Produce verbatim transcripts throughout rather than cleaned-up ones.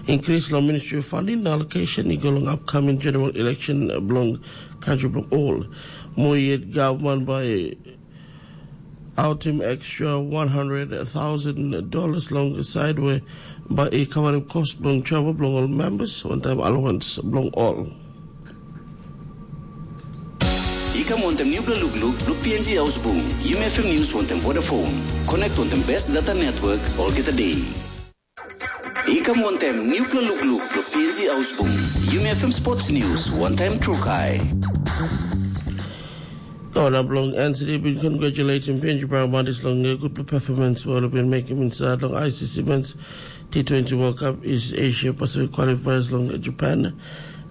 Increase long ministry funding na allocation i go long upcoming general election bilong country bilong all. Mo yet government by autim extra one hundred thousand dollars long side where by a covering cost bilong travel bilong all members one time allowance bilong all. I kam wantem nupela lukluk bilong P N G Ausbung, Yumi F M News wantem Vodafone. Connect wantem best data network olgeta day. I kam wantem nupela lukluk bilong P N G Ausbung, Yumi F M Sports News, one time Trukai. Owner bilong N C D bin congratulating P N G Brown Bandits long a good performance well been making inside long I C C Men's T twenty World Cup is Asia Pacific qualifiers long Japan.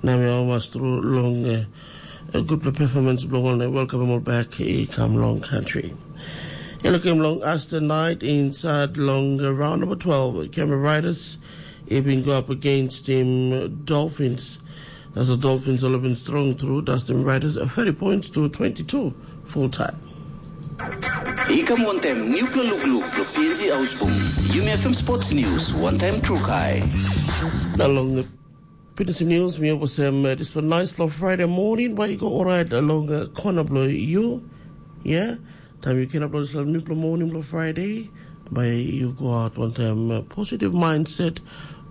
Nami almost through long uh, a good performance bilong ol na welcome all back i kam long country. Yellow came long as the night inside long uh, round number twelve. Camera Riders, it been go up against him uh, Dolphins. As the Dolphins all have been strong through, Dustin Riders uh, thirty points to twenty-two full time. I kam wantem nupela lukluk bilong P N G Ausbung. Yumi F M Sports News, one time Trukai. Na long the P N G News, mi opo sem uh, this one nice long Friday morning, but you go alright along uh, corner below you. Yeah? Time you can upload this nupela morning below Friday, but you go out one time uh, positive mindset,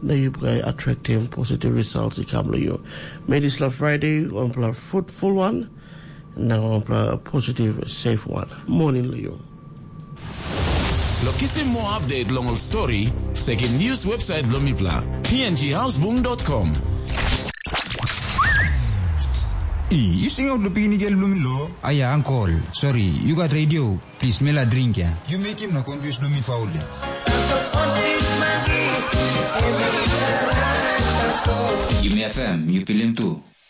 na you guy attracting positive results i kam lo you. May this love Friday, one pla fruitful one, na one pla positive, safe one. Morning lo you. Lo kisim more update long ol story, sekim news website bilong mipela, p n g houseboom dot com. I, you sing out the pini gel bilong mi lo? Aya, uncle, sorry, you got radio. Please, mela drink ya. You make him na confuse bilong mi faul ya. Yumi F M, you pilim tu.